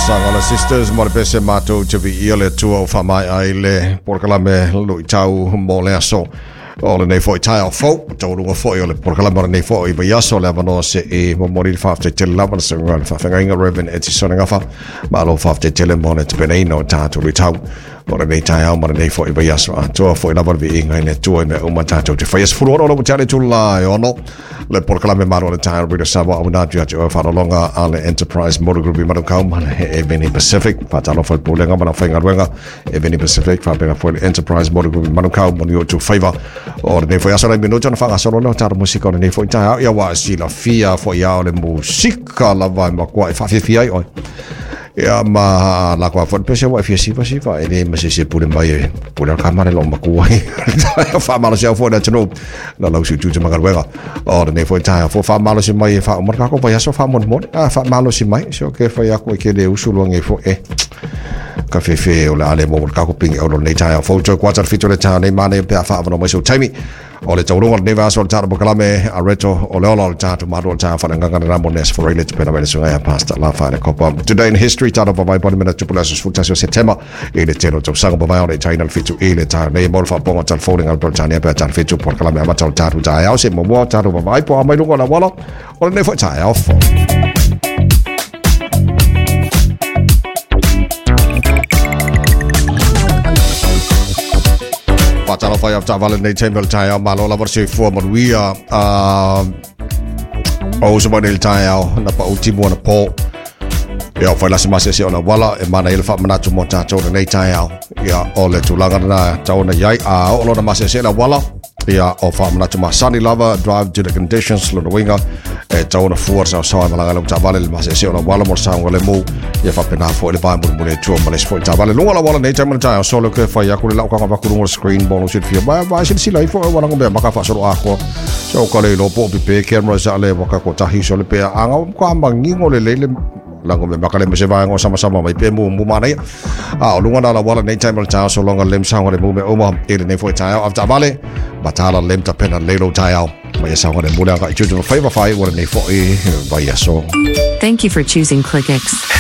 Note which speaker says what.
Speaker 1: Sagala Sisters mo le pese matou te viia le Atua ua faamaea ai le polokalame luitau mo le aso o lenei foi taeao fou, taualuga foi o le polokalame o lenei foi vaiaso le avanoa se i momoli le faafetai tele lava le susuga i le faafeagaiga Reverend Etisone Gafa. Malo faafetai tele mo le tapenaina o tatou luitau o lenei taeao ma lenei foi vaiaso atoa foi lava le viiga i le Atua i mea uma tatou te faia. 16 ua tea le itula e 6 le polokalame malo le taeao Radio Samoa auina atu ia te oe faalologa a le Enterprise Motor Group i Manukau ma le Eveni Pacific. Faatalofa i le Pulega ma le aufaigaluega Eveni Pacific, faapena foi le Enterprise Motor Group i Manukau ma ni o tu faiva o lenei foi aso. Lai minuta ona faagasolo lea o tatou musika o lenei foi taeao. Ia ua silafia foi a o le musika lava e matua e faafiafia ai oe. Ia ma la koa foi pese ua e fia siva siva e le ma se se pule mai e pule al kamare lo makua. Faamalosi au foi le atunuu na lau siutu te magaluega o lenei foi taeao fo faamalosi mai e faauma le kako vaiaso faamolemole a faamalosi mai se o ke fai aku e ke le usu luangi foi e ka fefe o le a le mo le kako pingi o lenei taeao fou toe kuata le 7 le taeao nei manaia pe a faavanoa mai sau taimi o le taualuga o lenei vaiaso o le tatou polokalame a reto o le ola o le tatou malo o le taeao faaleagaga lena mo Nes Foreile te pena mai le susuga ia Pastor Lafa le Kopa. Today in history tatou vavai poni mena tupu le aso 11 o Setema i le tele o tausaga mavae o le itaina le 7 i le taeao nei mo le faapopoga o telefoni le Peretania pe a tala 7 polokalame amata o le tatou taeao se muamua o tatou vavaai po a mai luga o le auala o lenei foi taeao fou. Faatalofa i avetaavale lenei taimi o le taeao, malo lava le soifua manuia. O uso mai nei le taeao na pau timu ana pō. Ia, o whai lasi masese o la wala, e mana i le whaamanatu mō tātou lenei taeao. Ia, o le tulaga na tau na iai, a o lona masese la wala, ia, o whaamanatu masani lava, drive to the conditions, lona uiga, e tau na fua sa sawa malaga le taavale le masese o la wala mo le saoga le mu, ia faapena foi le vae mulimuli e tua ma le isi foi taavale. Luga la wala nei taimi o le taeao, solo ke whai aku le lau kanga vaku luga o le screen mo lo silafia. Vai, vai silasila ifo e wala ngomea maka whaasolo ākoa. So ka le iloa po o pipe camera sa le waka ko tahi so le pea anga ka mangingo le lele lango me makale me se vaenga o sama sama mai pe mu mu manaia. A o lunga na la wala nei taimi o le taeao so longa lem saoga le mu me uma i lenei foi taeao avetaavale matala lem tapena lelo taeao mai e saoga le mu le aga i tutu whai whai ua lenei foi vaiaso.
Speaker 2: Thank you for choosing ClickX.